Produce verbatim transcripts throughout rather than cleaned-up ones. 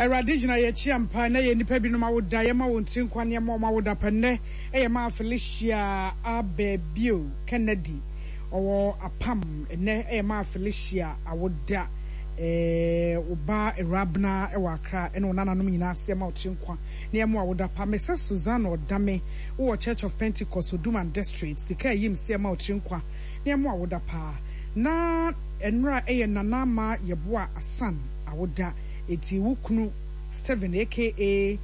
Awurade gyina yɛn akyi ampa na yɛ nnipa binom awoda yɛma wɔn tiri nkwa nneɛma wɔn awoda pɛ nnɛ ɛyɛ maa Felicia Abɛbio Kennedy ɔwɔ apam nnɛ ɛyɛ maa Felicia awoda ɛɛ ɔba Awurabena ɛwɔ Accra ɛne wɔn nananom nyinaa ase ɛma wɔn tiri nkwa nneɛma awoda pa Mrs Susanna Ɔdame wɔ Church of Pentecost Oduman District sika ɛyim se ɛma wɔn tiri nkwa nneɛma awoda paa na nnora ɛyɛ Nana Ama Yɛboa Asan awoda eti wo kunu Steven aka eh,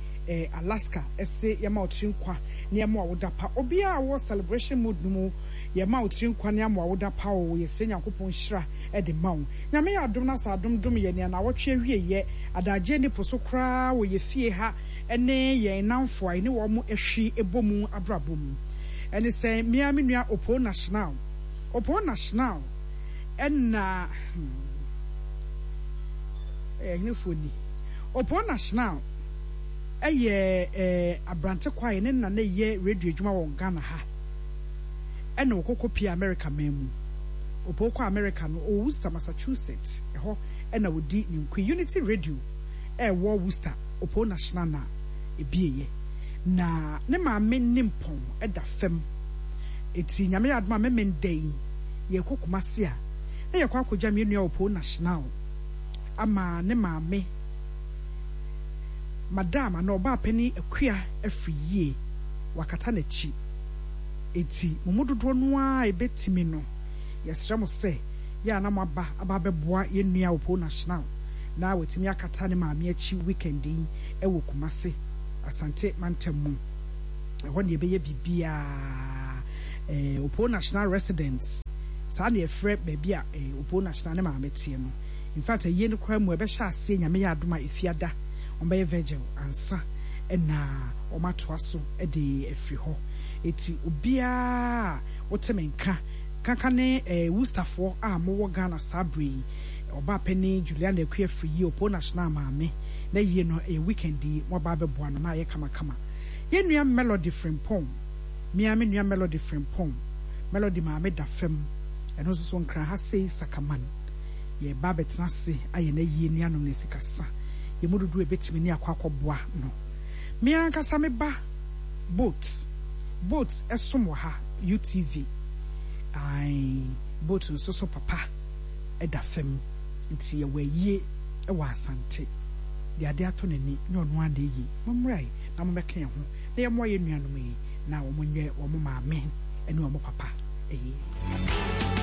Alaska ɛse yɛma wo tiri nkwa nneɛma awoda pa obiara a wɔ celebration mood no mu yɛma wo tiri nkwa nneɛma awoda pa o yɛsrɛ Nyankopɔn hyira ɛde ma wo Nyame yɛ adom na sɛ adom dom yɛ nea nawɔtwe awie yɛ adagye ne po so koraa wɔ yɛ fie ha ɛne yɛn namfo a ɛne wɔn ahwi ɛbɔ mu abrabɔ mu ɛne sɛ mmea me nua Opo National Opo National ɛna hmm, ɛyɛ henefoɔ ni Opo National ɛyɛ ɛɛ aberante kwae ne nna na ɛyɛ radio adwuma wɔ Ghana ha ɛna ɔkɔkɔ pie America man mu Opo kɔ America no ɔwɔ Worcester Massachusetts ɛhɔ ɛna ɔdi ne nkui Unity Radio ɛwɔ Worcester Opo National na ebieyɛ na ne maame nimpɔn ɛda fam eti Nyame yɛ adom a mɛmɛ yi yɛkɔ Kumasi a na yɛkɔ akɔgya me nua Opo National ama ne maame madam ana ɔbaa panin Akua afiri yie wakata n'akyi eti mo mu dodoɔ no ara ebetumi no yɛsrɛ mo sɛ yɛ a na mo aba aba abɛboa yɛn nua Opo National na watumi akata ne maame akyi weekend yi ɛwɔ Kumasi Asante mantam mu ɛhɔ ne yɛbɛyɛ biribiara ɛɛ Opo National residence saa na yɛfrɛ baabi a ɛɛ Opo National ne maame teɛ no in fact ɛyie no koraa mu ɛbɛhyɛ aseɛ Nyame yɛ adom a efiada wɔn vigil ansa ɛna wɔn atoa so ɛde afiri hɔ eti obiara wote me nka kanka ne ɛɛ Worcesterfoɔ a mowɔ Ghana saa bere yi ɔbaa panin Juliana Akua afiri yie Opo National maame na yie no ɛyɛ weekend yi mo aba abɛboa no na ayɛ kamakama yɛn nua Melody Frimpong mmea me nua Melody Frimpong Melody maame da fam ɛno nso so nkran ha sei Sakaman yɛba abɛtena ase ayɛ n'ayie ne anom ne sikasa yɛn mu dodoɔ ebɛtumi ne akɔ akɔboa no mmea ankasa me ba boat boat ɛsom wɔ ha U T V ae boat nso so papa ɛda fam nti yɛwɔ ayie ɛwɔ Asante deɛ ade atɔ n'ani ne ɔno ara na ɛyie mommra yi na mommɛka yɛn ho na yɛmmoa yɛn nuanom yi na wɔn nyɛ wɔn maame ne wɔn papa ɛyie.